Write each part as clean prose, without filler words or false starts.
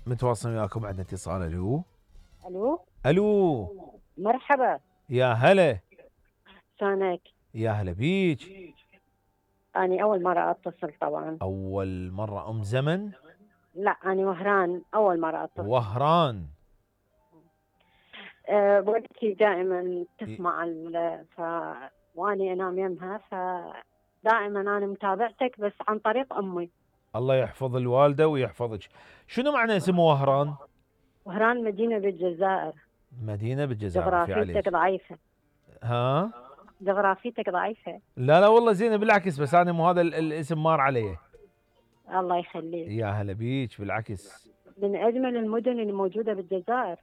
متواصل وياكم، عندنا اتصال. الو الو الو، مرحبا. يا هلا. شلونك؟ يا هلا بيج. اني اول مرة اتصل طبعا. اول مرة زمن؟ لا اني وهران، اول مرة اتصل. وهران. والدتي دائما تسمع واني انام يمها، فدائما انا متابعتك بس عن طريق امي. الله يحفظ الوالدة ويحفظك. شنو معنى اسم وهران؟ وهران مدينة بالجزائر. مدينة بالجزائر. في جغرافيتك عليك. ضعيفة. ها؟ جغرافيتك ضعيفة. لا والله زينة بالعكس، بس انا مو هذا الاسم مار علي. الله يخليك. يا هلا بيك، بالعكس. من اجمل المدن اللي موجودة بالجزائر.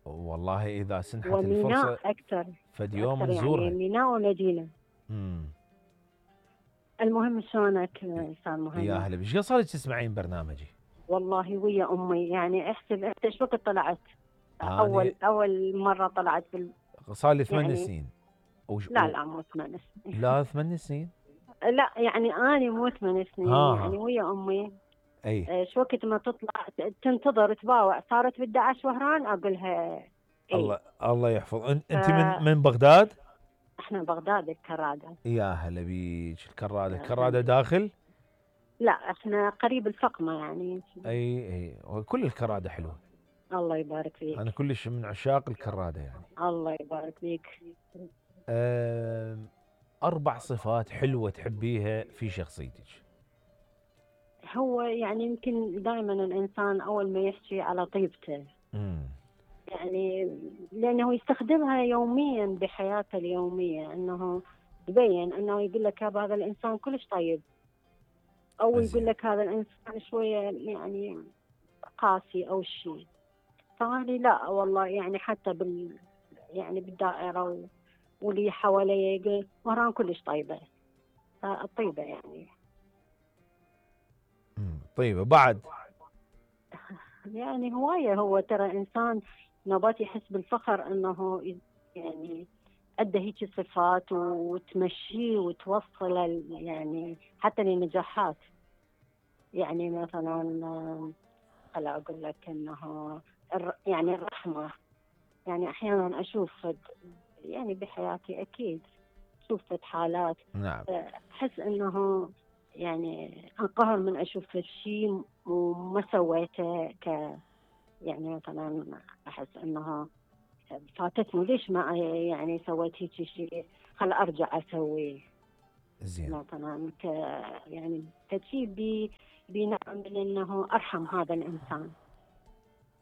والله اذا سنحت وميناء الفرصة اكثر. فد يوم يعني نزورها. ميناء ومدينة. المهم شلونك انسان مهم؟ يا هلا بيش. قد صار لك تسمعين برنامجي؟ والله ويا امي، يعني احسب انت شو وقت طلعت؟ اول مره طلعت صار لي 8 يعني سنين. لا مو 8 سنين. لا 8 سنين. لا يعني اني مو 8 سنين، يعني ويا امي. اي شو وقت ما تطلع تنتظر تباوع، صارت ب11 وهران اقولها. الله يحفظ. انت من بغداد؟ احنا بغداد الكرادة. يا هلا بيك. الكرادة داخل؟ لا احنا قريب الفقمة يعني. اي كل الكرادة حلوة. الله يبارك فيك. انا كلش من عشاق الكرادة يعني. الله يبارك فيك. 4 صفات حلوة تحبيها في شخصيتك. هو يعني يمكن دائما الانسان اول ما يحكي على طيبته. يعني لانه يستخدمها يوميا بحياته اليوميه، انه تبين انه يقول لك هذا الانسان كلش طيب، او يقول لك هذا الانسان شويه يعني قاسي او شيء. فأنا لا والله يعني حتى يعني بالدائره واللي حوالي يقول وهران كلش طيبه. الطيبه يعني. طيبه بعد. يعني هوايه، هو ترى انسان نوبات يحس بالفخر انه يعني عنده هيك صفات وتمشيه وتوصله يعني حتى للنجاحات. يعني مثلا خلا اقول لك انه يعني الرحمه. يعني احيانا اشوف يعني بحياتي اكيد شفت حالات. نعم. احس انه يعني انقهر من اشوف الشيء وما سويته يعني مثلا احس انه فاتتني، ليش ما يعني سويت هيك شيء، خل ارجع اسويه. زين. مثلا يعني كشيء بنوع من انه ارحم هذا الانسان.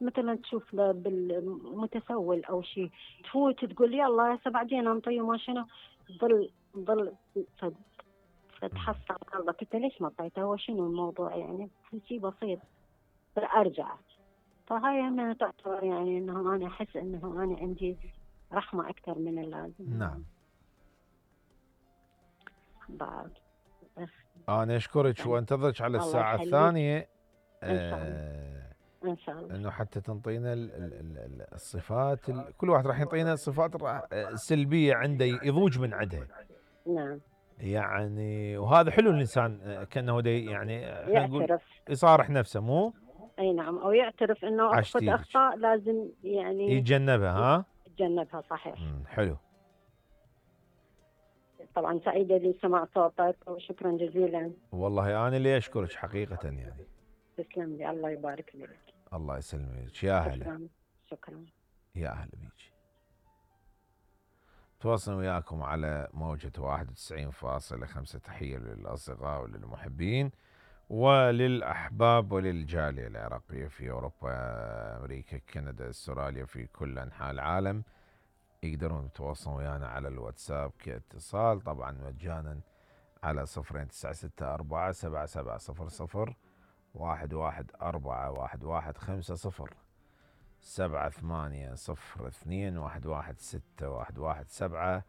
مثلا تشوف له بالمتسول او شيء، تفوت تقول يلا هسه بعدين انطيه ما شنو، ظل فتحصل قلبك انت ليش ما اعطيته، هو شنو الموضوع يعني شيء بسيط ارجع. فهاي هم تعتبر يعني انه انا احس انه انا عندي رحمه اكثر من اللازم. نعم. بعد انا اشكرك وانتظرك على الساعه الثانيه. ان شاء الله. انه حتى تنطينا الصفات. كل واحد راح يعطينا الصفات السلبيه عنده يضوج من عندها. نعم. يعني وهذا حلو الانسان كانه يعني يعترف، يصارح نفسه مو. اي نعم، او يعترف انه اخذ اخطاء لازم يعني يتجنبها. ها، يتجنبها. صحيح. حلو. طبعا سعيده لسماع صوتك وشكرا جزيلا. والله انا اللي اشكرك حقيقه يعني. تسلم لي، الله يبارك فيك. الله يسلمك. يا هلا. شكرا. يا هلا بيك. تواصلنا وياكم على موجة 91.5. تحية للأصدقاء وللمحبين وللأحباب وللجالية العراقية في أوروبا، أمريكا، كندا، استراليا، في كل أنحاء العالم. يقدرون يتواصلون ويانا على الواتساب كاتصال طبعا مجانا على 02947700 1141150 7802116117.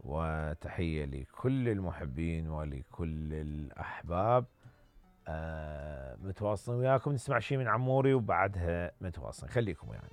وتحية لكل المحبين ولكل الأحباب. متواصلين وياكم، نسمع شيء من عموري وبعدها متواصلين. خليكم ويانا.